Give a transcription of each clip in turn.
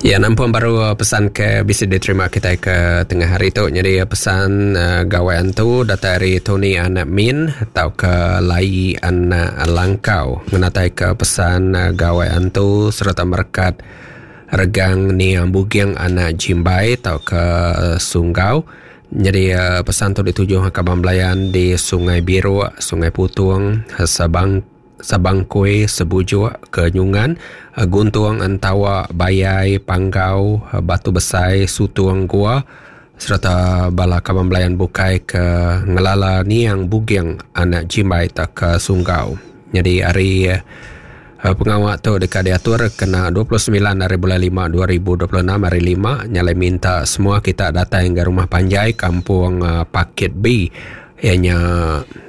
Ya nampung baru pesan ke bisi diterima kitai ke tengah hari tu nyadi pesan gawai antu datai ari Tony anak Min tauka Lai anak Langkau ngenatai ke pesan gawai antu sereta merekat regang niang Buging anak Jimbai tauka Sunggau nyadi pesan tu dituju kaban belayan di Sungai Biruk, Sungai Putung, Sabang Sabangkui, Sebujuk, Kenyungan, Guntung, Entawa, Bayai, Panggau, Batu Besai, Sutung, Gua sereta bala kaban belayan bukai ke ngelala niang Buging anak Jimbai tauka Sunggau. Nyadi ari pengawa tu deka diatur kena 29 hari bulan lima 2026 hari lima nya alai minta semua kita datai ngagai rumah panjai Kampung Pakit B iya nya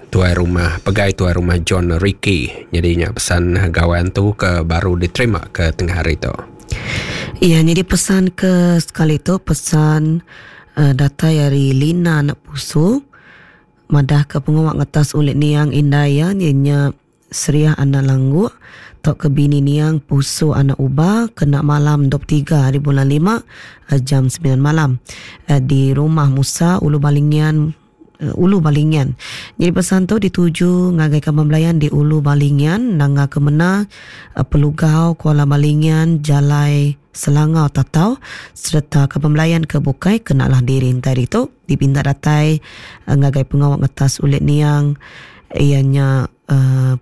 Tuai Rumah Pegai Tuai Rumah John Ricky. Nyadi nya pesan gawai antu ke baru diterima ke tengah hari tu. Iya nyadi pesan ke sekali tu pesan uh, datai ari Lina anak Pusu madah ke pengawa ngetas ulit niang indai iya nya Seriah anak Langguk tauka bini niang Pusu anak Uba kena malam 23 hari bulan lima jam semilan malam di Rumah Musa Ulu Balingian Ulu Balingian. Nyadi pesan tu dituju ngagai kaban belayan di Ulu Balingian, Nanga Kemena, Pelugau, Kuala Balingian, Jalai Selangau Tatau sereta kaban belayan ke bukai kena lah diri entai ditu dipinta datai ngagai pengawa ngetas ulit niang iya nya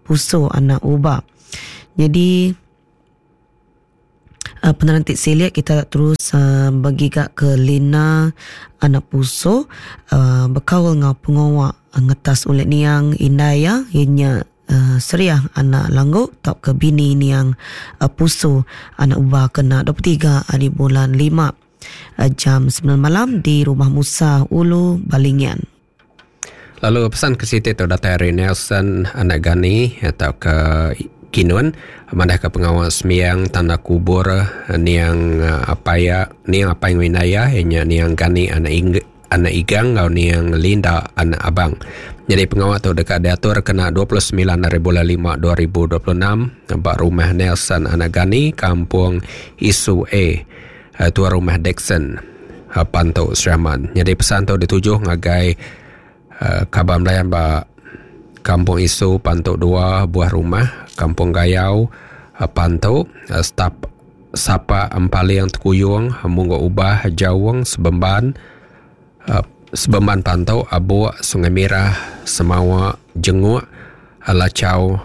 Pusu anak Uba. Nyadi penerang ti silik kita terus begiga ke Lina anak Pusu bekaul enggau pengawa ngetas ulit niang indai iya iya nya Seriah anak Langgu tauka bini niang Pusu anak Uba kena 23 hari bulan lima jam semilan malam di Rumah Musa Ulu Balingian. Lalu pesan ke siti tu datai ari Nelson anak Gani tauka Kinun madahka pengawa sembiang tanda kubur niang apai iya niang apai enggau indai iya iya nya niang Gani anak Ing anak Igang enggau niang Linda anak Abang. Nyadi pengawa tu deka diatur kena 29 hari bulan lima 2026 ba rumah Nelson anak Gani Kampung Isu A. Tuan Rumah Dickson Pantu Sri Aman. Nyadi pesan tu dituju ngagai kaban belayan ba Kampung Isu Pantu dua buah rumah, Kampung Gayau Pantu, Stap Sapa Empaling Tekuyung, Munggu Ubah Jaung Sebemban Sebemban Pantu Abuk Sungai Mirah Semawa Jenguk Lachau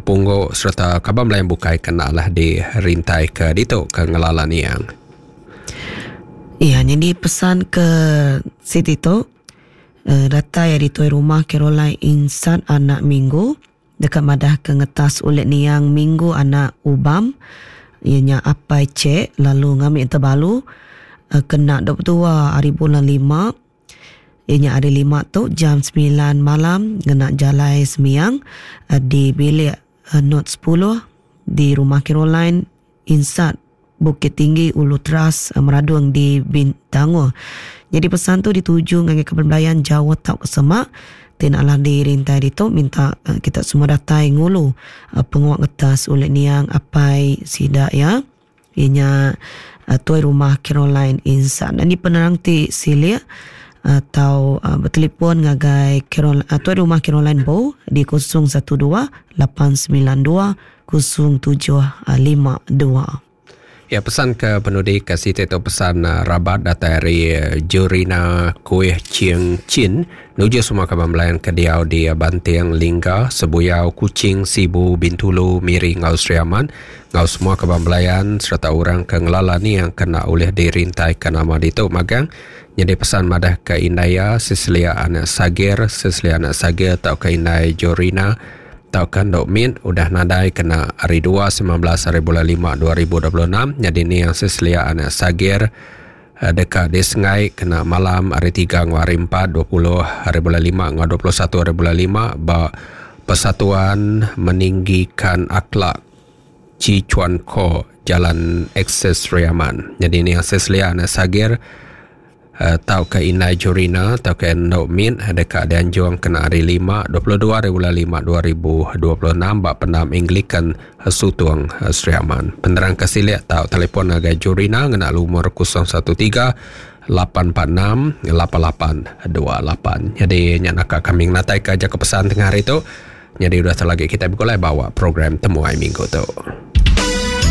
Punggu sereta kaban belayan bukai ke enda alah dirintaika ditu ke ngelala niang. Iya nyadi pesan ke siti tu datai ari tuai rumah Caroline Insat anak Minggu deka madah ke ngetas ulit niang Minggu anak Ubam iya nya apai Chek lalu ngambi tebalu kena 22 hari bulan lima. Iya nya hari lima tu jam semilan malam ngena jalai sembiang di bilik Not sepuluh di Rumah Caroline, Insat, Bukit Tinggi, Ulu Teras, Meradong di Bintangor. Nyadi pesan tu dituju ngagai kaban belayan jauh tauka semak ti enda alah dirintai ditu minta kita semua datai ngulu pengawa ngetas ulih niang apai sida iya. Iya nya tuai rumah Caroline Insan. Ini penerang ti silik atau betelefon ngagai Carol, tuai rumah Caroline Bo di 012 892 0752. Ya pesan ke penudi ke siti tu pesan rabat datai ari Jurina Kuih Ching Chin nuju semua kaban belayan ke diau di Banting Lingga, Sebuyau, Kuching, Sibu, Bintulu, Miri enggau Sri Aman. Enggau semua kaban belayan sereta orang ke ngelala niang ke enda ulih dirintaika nama ditu magang nyadi pesan madahka indai iya Cecilia anak Sagir, Cecilia anak Sagir tauka indai Jorina tauka Endu Mit udah nadai kena hari dua 19 hari bulan lima 2026 nyadi niang Cecilia anak Sagir deka disengai kena malam hari tiga enggau hari empat 20 hari bulan lima enggau 21 hari bulan lima ba Persatuan Meninggikan Akhlak Chi Chuan Ko Jalan Akses Sri Aman. Nyadi ni Akses Lia anak Sagir. Tauka Indai Jurina tauka Endo Mit deka dianjung kena hari Lima, 22 hari bulan lima 2026 ba Pendam Anglican Sutong, Sri Aman. Penerang ke silik tau telefon ngagai Jurina ngena lumur 013 846 8828. Nyadi nya naka kami ngenataika jaku pesan tengah hari tu. Nyadi udah tu lagi kitai begulai bawa program Temuai Minggu tu.